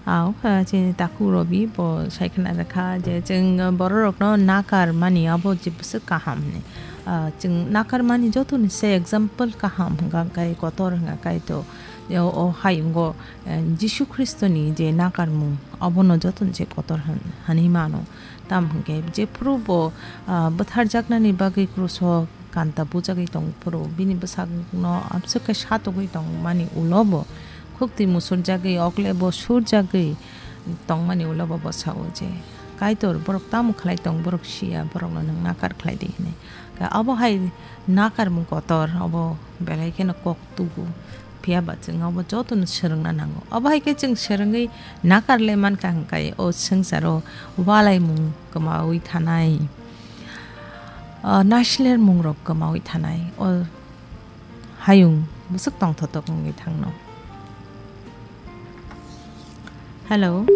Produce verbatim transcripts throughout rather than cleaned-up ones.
Au, ah, chini takhuk Robi bo sai khna rwkha je chwng bororokno nakar mani abo je bwswk kaham hwnwi. Ah, chwng nakar mani jotoni se example kaham hwnkha kai kotor hwnkha kai to. O, o hayungo, eh, Jisu Khristoni je nakarmung abono jotoni se kotor hwn-, hwnwi mano. Tam hwnkhe jephuru bo, ah, bwtharjaknani bagwi kruso kanta bujagwi tong phuru bini bwsakno amswk khe satugwi tongmani ulo bo khukti musurjagwi, okle bo surjagwi tongmani ulo bo bwsao je, "Kaitor, borok tamo khlai tong, borok siya, borokno nwng nakar khlai di," hwnwi. Ka abo hai nakarmung kotor, abo belai kheno kok tubu. Phiya ba chwng abo jotono swrwngna nango. Abo hai khe chwng swrwngwi nakar le mankha hwnkhe o swngcharo walaimung kwmaui thanai. Ah, naisler mungrok kwmaui thanai, o hayung bwswk tongthotok wngwi thangno. Hello.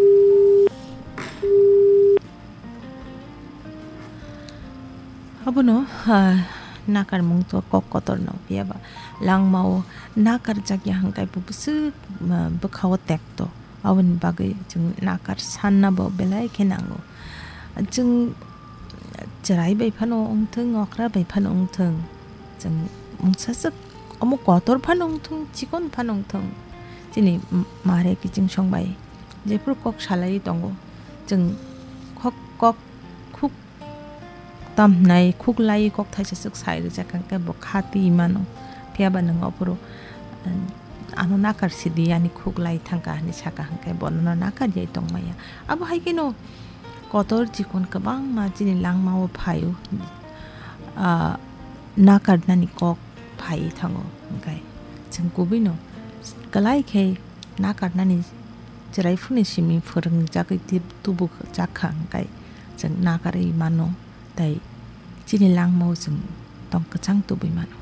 Abono, ah, nakarmung to kok kotorno, phiya ba langmao nakarjakya hwnkhe bo bwswk, ah, bwkhao tekto. Aboni bagwi chwng nakar sanna bo belai khe nango. Chwng chwrai bai phano wngthung, okra bai phano wngthung, chwng mungsaswk omo kotor phano wngthung, chikon phano wngthung, chini m-, mare kiching song bai jephuru kok salai tongo, chwng khok, kok khuk tam hwnai khuk lai kok thaisa swk sai rijak hwnkhe bo kha twi mano. Phiya ba nwng ophuru, um, ano nakar sidi, ani khuk lai thangkha hwnwi sakha hwnkhe bono nakar jai tongmaya. Abo hai kheno kotor chikon kwbangma chini langmao phaio, ah, nakarnani kok phaiwi thango, hwnkhe chwng kubuino kwlai khe nakarnani chwrai phuruni simi phwrwngjagwi tib-, tubujakha, hwnkhe chwng nakarwi mano, tei chini langmao chwng tong kwchang tubui mano.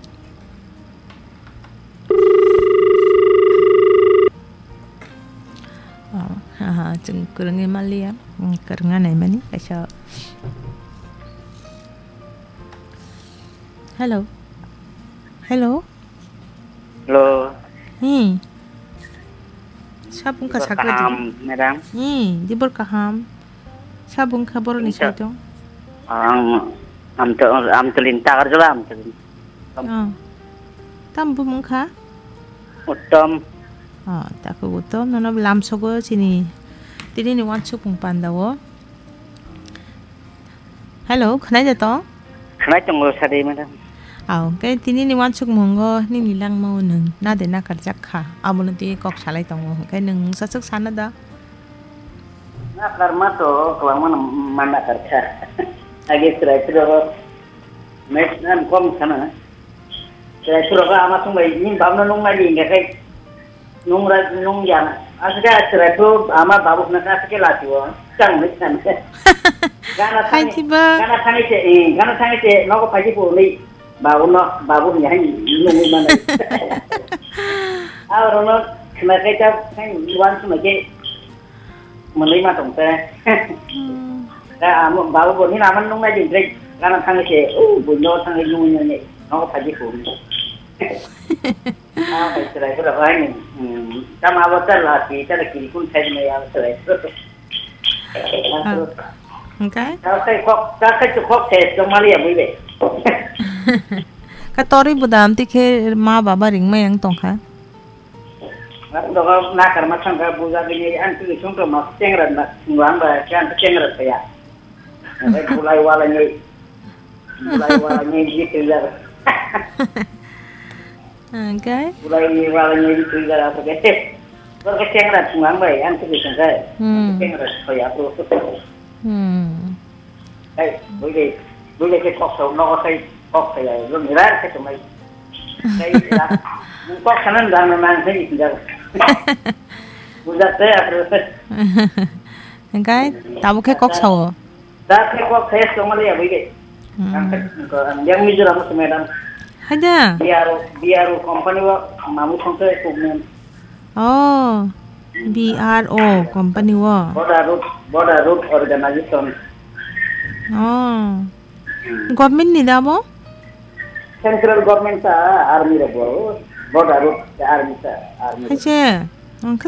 Oh, aha, chwng kwrwngwi manliya, mm, kwrwngna naimani kaisa. Hello. Hello. Hello. Hmm. Sabung ka Dibor sakra di. Kaham, madam. Hmm, dibor kaham. Sabung ka boroni Insa- saito. Ang, am to, am to linta karjala, am to linta. Oh. Tam bumung kha? Uttom. Oh, tako uttom. Nono lamsogo chini. Tini ni wansuk pung panda o. Hello, khwnai da tong? Khwnai tongo, sadi, madam. Aw, hwnkhe tini ni wansukmungo nini langmao nwng na de nakarjak kha, abono twi kok salai tongo, hwnkhe nwng mungsa swk sana da? Nakarma to kwbangma no ma nakarkha. Age chwrai phuru next time kom sana. Chwrai phuru ama thung bai ni bab no nung nai di hingkhe. Nungra, nung yang. Aswk khe chwrai phuru ama babu hwnka aswk khe lachio. Chang hwnwi san. Gana thani, Hai thiba. Gana thani se, eh, gana thani se nogo phaji phuru ni babu no, babu ni hai nungwi mano. Arono khna kai ta, kai wan khna ke mwnwi ma tong te. Hmm. Da amo babu bo ni naman nung nai din tre. Gana thani se, uh, buino thani nungwi nai. Nogo phaji phuru ni. Ah, kai chwrai phuru hai ni. Hmm. Tamo abo ta lati, ta kiri kun khai ni ya chwrai phuru. Ah. Hwnkhe? Ta kai kok, ta kai kok se tong mali ya bui be. Ka torwi budam ti khe ma baba ringmai ang tongkha. Ang dogo nakar ma thangkha buja bini ang tu sung to ma chengra na sung ang ba kan chengra ya. Bulai wala ni. Bulai wala ni gitu ya. Hwnkhe? Bulai ni wala ni gitu ya apa ke. Kor ke chengra sung ang ba ang tu sung kai. Hmm. Chengra so ya pro. Hmm. Hey, buile, buile ke kok sa, no kok sai, kok sai, lo mirar ke tumai. Sai, ya. Kok sanan dan na nang sai, ya. Bujak te, apa? Hwnkhe, tabuk khe kok sao? Da ke kok sai, so mali ya, buile. Hmm. Ang ke, ang yang Mizoram se madam. Haja. B R O, B R O company wo, mamu thong se, kuk men. Oh, B R O company wo. Border Road, Border Road Organization. Oh. Hmm. Government ni da bo? Central government ta army ro bo. Border Road ta army ta, army ro. Hai se. Ang